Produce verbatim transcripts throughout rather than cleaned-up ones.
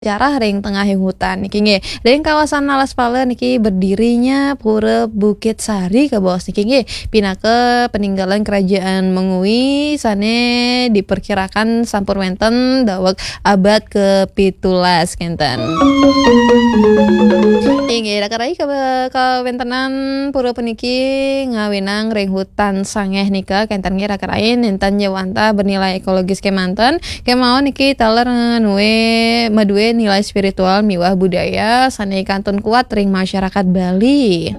sejarah ring tengahing hutan niki nggih. Ring kawasan Alas Pala niki berdirinya Pura Bukit Sari kabaos niki nggih. Pinaka peninggalan kerajaan Mengwi sane diperkirakan sampun wenten daweg abad kepitulas kenten. Inggih, raka rai ka-, kawentenan pura puniki ngawinang ring hutan sangeh nika kenten nggih raka rai, nenten ja wantah bernilai ekologis kemanten. Kemawon niki taler nue madue nilai spiritual miwah budaya sane kantun kuat ring masyarakat Bali.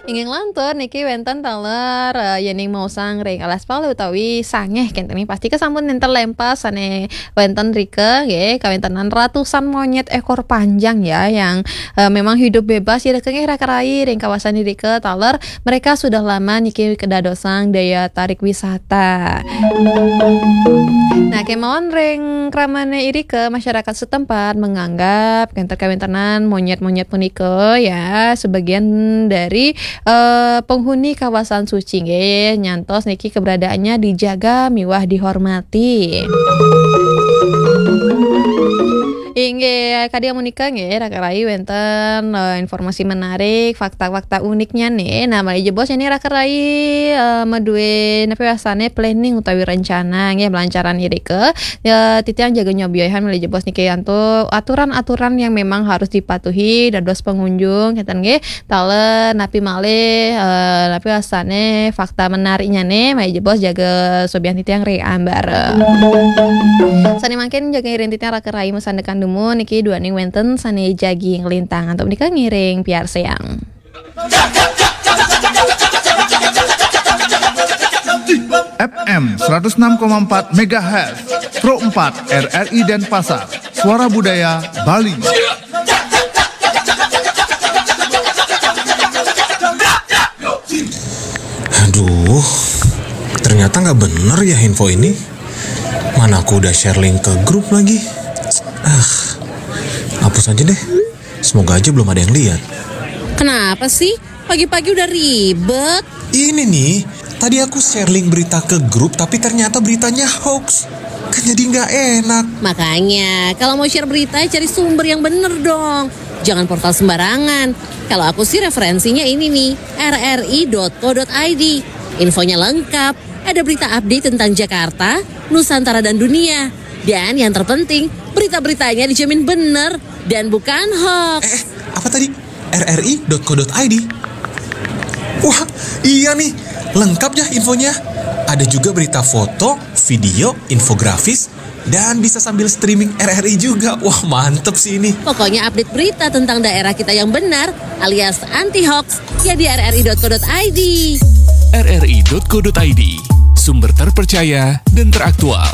Inggih lantur niki wenten taler, eh, yening maosang ring Alas Pala utawi sangeh kenten nggih, pasti kesampun nenten lempas sane wenten rika nggih, kawentenan ratusan monyet ekor panjang ya yang, eh, memang hidup bebas ya nggih raka rai ring kawasan irika taler mereka sudah lama niki kedadosang daya tarik wisata. Nah, kemawon ring kramane irika masyarakat setempat menganggap kenten kawentenan monyet-monyet punika ya sebagian dari, eh, penghuni kawasan suci nggih, nyantos niki keberadaannya dijaga miwah dihormati. Inggih, kadi amunika nggih, raka rai wenten, eh, informasi menarik, fakta-fakta uniknya nih. Nah, malih jebos ini raka rai, eh, madue napi wastane planning utawi rencana nggih, melancaran irika. Ya, titiang jaga nyobiahan malih jebos niki antuk aturan-aturan yang memang harus dipatuhi dados pengunjung, kenten nggih. Taler napi malih, eh, napi wastane fakta menariknya nih, malih jebos jaga sobian titiang ri ambar. Sane mangkin jaga ngiring titiang raka rai masandekan dumun niki duaning wenten sane jagi nglintang antuk menika ngiring piarsayang. F M seratus enam koma empat megahertz, Pro empat R R I Denpasar, Suara Budaya Bali. Aduh, ternyata nggak bener ya info ini. Mana aku udah share link ke grup lagi. Ah, hapus aja deh. Semoga aja belum ada yang lihat. Kenapa sih? Pagi-pagi udah ribet. Ini nih, tadi aku share link berita ke grup tapi ternyata beritanya hoax. Kan jadi nggak enak. Makanya, kalau mau share berita, cari sumber yang bener dong. Jangan portal sembarangan. Kalau aku sih referensinya ini nih, R R I dot co dot I D. Infonya lengkap. Ada berita update tentang Jakarta, Nusantara dan dunia. Dan yang terpenting, berita-beritanya dijamin bener dan bukan hoax. Eh, apa tadi? R R I dot co dot I D. Wah, iya nih. Lengkap ya infonya. Ada juga berita foto, video, infografis, dan bisa sambil streaming R R I juga. Wah, mantep sih ini. Pokoknya update berita tentang daerah kita yang benar alias anti hoax ya di R R I dot co dot I D. R R I dot co dot I D, sumber terpercaya dan teraktual.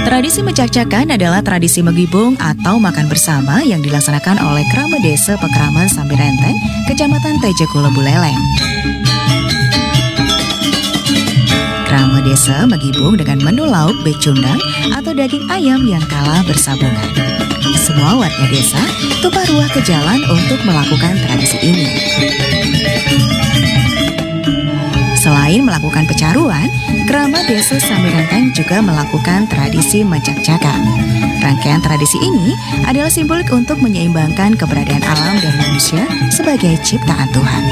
Tradisi mencakcakan adalah tradisi megibung atau makan bersama yang dilaksanakan oleh Krama Desa Pekraman Sambirenteng, Kecamatan Tejakula Buleleng. Krama Desa megibung dengan menu lauk becundang atau daging ayam yang kalah bersabungan. Semua warga desa tumpah ruah ke jalan untuk melakukan tradisi ini. Selain melakukan pecaruan, Krama Desa Sambirenteng juga melakukan tradisi mencakcakan. Rangkaian tradisi ini adalah simbolik untuk menyeimbangkan keberadaan alam dan manusia sebagai ciptaan Tuhan.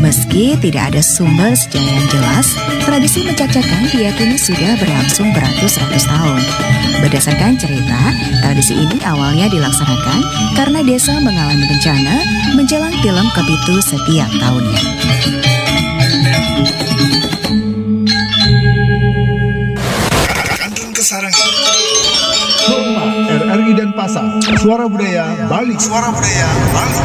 Meski tidak ada sumber sejarah yang jelas, tradisi mencakcakan diyakini sudah berlangsung beratus-ratus tahun. Berdasarkan cerita, tradisi ini awalnya dilaksanakan karena desa mengalami bencana menjelang tilem kepitu setiap tahunnya. Kantun kesarengan. Pro empat R R I Denpasar, Suara Budaya Bali. Suara Budaya Bali.